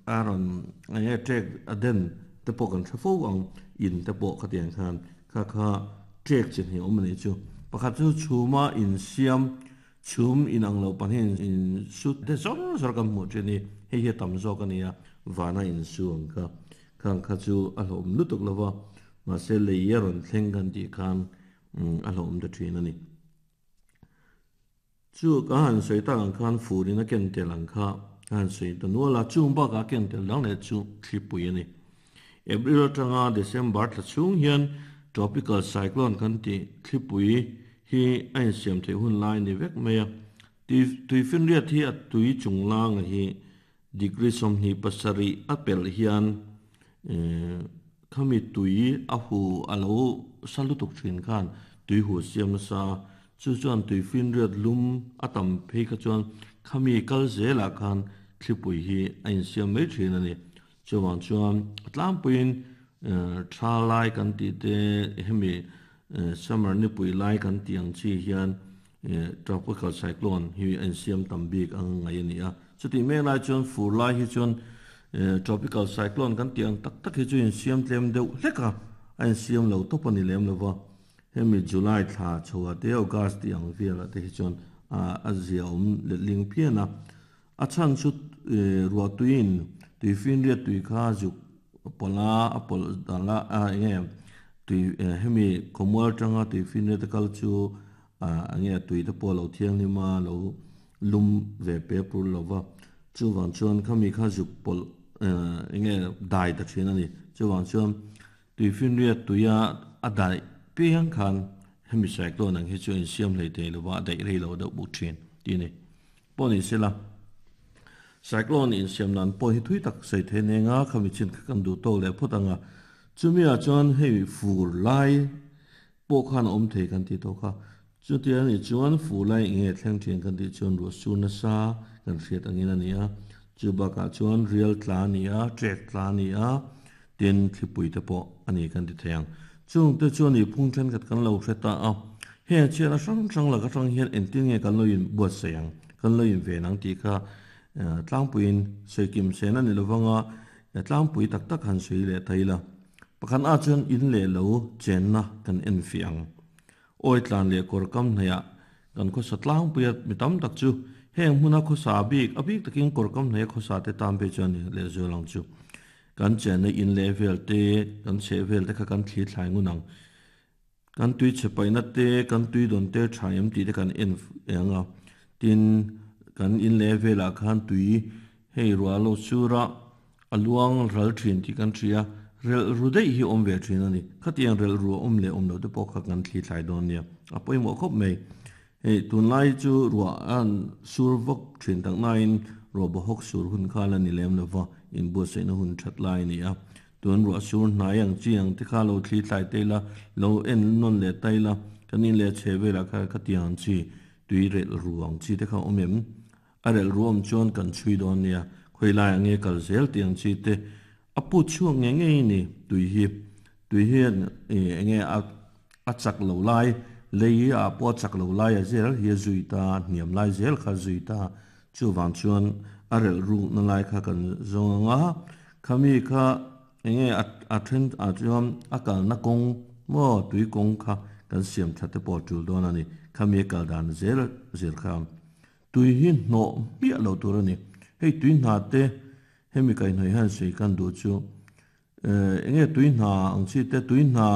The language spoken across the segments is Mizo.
a rawn eng nge ṭek a den te pawh kan hre fo ang in te pawh khatiang khan kha kha ṭek chi hnih awm a nih chu. Pakhat chu chhuma insiam chhum inang lo pahnih in su te zawr zawr kan hmuh ṭhin hi hei hi a tam zawk a ni a, vana insu ang kha khang kha chu a hlauhawm lutuk lo va, mahse lei a rawn thleng kan tih khan a hlauhawm ta ṭhin a ni. Chu ka han sawi tak ang khan furin a ken tel ang kha ka han sawi ta nual a, chung bakah a ken tel dang leh chu thlipui a ni. April atanga December thla chhung hian tropical cyclone kan tih thlipui hi a insiam theih hun lai a ni vek mai a. Tuifinriat hi a tui chunglanga hi degree 27 a pelh hian khami tui a hu a lo sa lutuk thin khan tui hu siam nasa chu chuan tui finriat lum a tam phei kha chuan khami kal zelah khan thlipui hi a insiam mai thin a ni. Chuvang chuan a tlangpuiin tha lai kan tih te hemi summer nipui lai kan tih ang chi hian Tropical cyclone hi a insiam tam bik ang ngaih a ni a. Chutih mek lai chuan fur lai hi chuan tropical cyclone kan tih ang tak tak hi chu insiam tlem deuh hlek a, a insiam lo tawp a ni lem lo va. Hemi July thla chhoah te August tih ang velah te hi chuan a zia awm letling phian a. A chhan chu ruahtuiin tuifinriat tui kha zuk pawlh a, a pawlh dal a, a enge tui hemi khawmual atanga tuifinriat a kal chu enge tui te pawh a lo thianghlim a, lo lum ve pe pur lo va. Chuvang chuan khami kha zuk pawlh enge dai ta thin a ni. Chuvang chuan tuifinriat tuia a daih piang khan hemi cyclone ang hi chu a insiam hlei thei lo va, a daih rei lo deuh bawk thin tih a ni. Pawh ni sela, cyclone insiam nan pawh hi thui tak sawi thei nen a, khami chin kha kan duh tawk leh phawt ang a. Chumi ah chuan hei fur lai pawh khan a awm thei kan tih tawh kha. Chutia nih chuan fur lai eng nge thleng thin kan tih chuan ruah sur nasa kan hriat angin a ni a. Chu bakah chuan rial tla a ni a, trek tla a ni a, tin thlipui te pawh a ni kan ti thei ang. Chungte chuan ih phung thenkhat kan lo hre ta a, heng chhiatna hrang hrang lak atang hian engtin nge kan lo in buatsaih ang, kan lo in ven ang tih kha tlangpuiin sawi kim sen a ni lovang a, tlangpui tak tak han sawi leh ta ila. Pakhat ah chuan in leh lo chenna kan en fiah ang. Awi tlan leh kawr kam hnaihah kan khawsa tlangpuia mi tam tak chu heng hmuna khawsa bik, a bik takin kawr kam hnaih a khawsa te tan phei chuan leh zual ang chu. Kan chenna in leh vel te, kan chheh vel te kha kan thli thlai ngun ang. Kan tui chhe paihna te, kan tui dawn te tha em tih te kan en eng a. Tin, kan in leh velah khan tui hei ruah lo sura a luang ral thin tih kan hria. Relh ru daih hi awm ve thin a ni. Khatiang relh ru a awm leh awm loh te pawh kha kan thli thlai dawn nia. A pawimawh khawp mai. Hei tunlai chu ruah a sur vawk thin tak nain ruah bawhawk sur hun kha la ni lem lo va, inbuatsaihna hun that lai a ni a. Tun ruah sur hnai ang chi ang te kha lo thli thlai ta ila, lo en nawn leh ta ila, kan in leh chhe velah kha khatiang ang chi, tui relh ru ang chi te kha awm em? A relh ru awm chuan kan chhui dawn nia, khawi laiah nge kal zel tih ang chi te a put chhuak ngei ngei a ni. Tui hi, tui hian eng nge a a chak lo lai, lei ah pawh a chak lo lai a zel hi a zui ta, hniam lai zel kha a zui ta. Chuvang chuan a relh rukna lai kha kan zawng ang a, khami kha eng nge a a then ah chuan a kalna kawng maw tui kawng kha kan siam that te pawh a tul dawn a ni. Khami a kal dan zel zel kha. Tui hi hnawh hmiah lo tur a ni. Hei tui hna te hemi kaihhnawih hian sawi kan duh chu eng nge tui hna ang chi te tui hna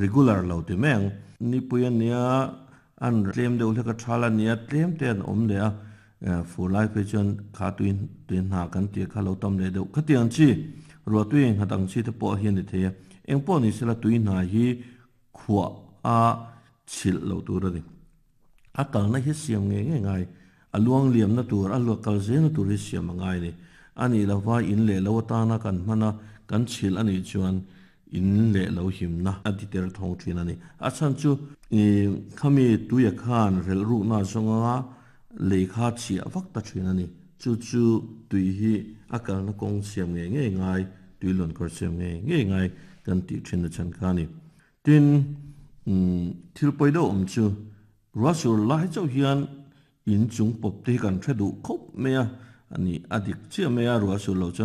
regular lo ti mai ang. Nipui a nia an tlem deuh hlek a thal a nia tlem te an awm leh a fur lai phei chuan kha tui tui hna kan tih kha lo tam leh deuh khatiang chi ruah tui engnghat ang chi te pawh hi a ni thei a. Engpawh ni sela tui hna hi khuah a chhilh loh tur a ni. A kalna hi siam ngei ngei ngai, a luang liamna tur, a luak kal zelna tur hi siam a ngai a ni. A nih lova in leh lo atana kan hman a, kan chhilh a nih chuan in leh lo himna a ti ter thawng thin a ni. A chhan chu khami tuia khan relh rukna zawnga lei kha chhiah vak ta thin a ni. Chu chu tui hi a kalna kawng siam ngei ngei ngai, tui luankawr siam ngei ngei ngai kan tih thin na chhan kha a ni. Tin, thil pawi deuh awm chu ruah sur lai chauh hian in chung pawp te hi kan hre duh khawp mai a, a ni a dik chiah mai a, ruah sur loh chuan.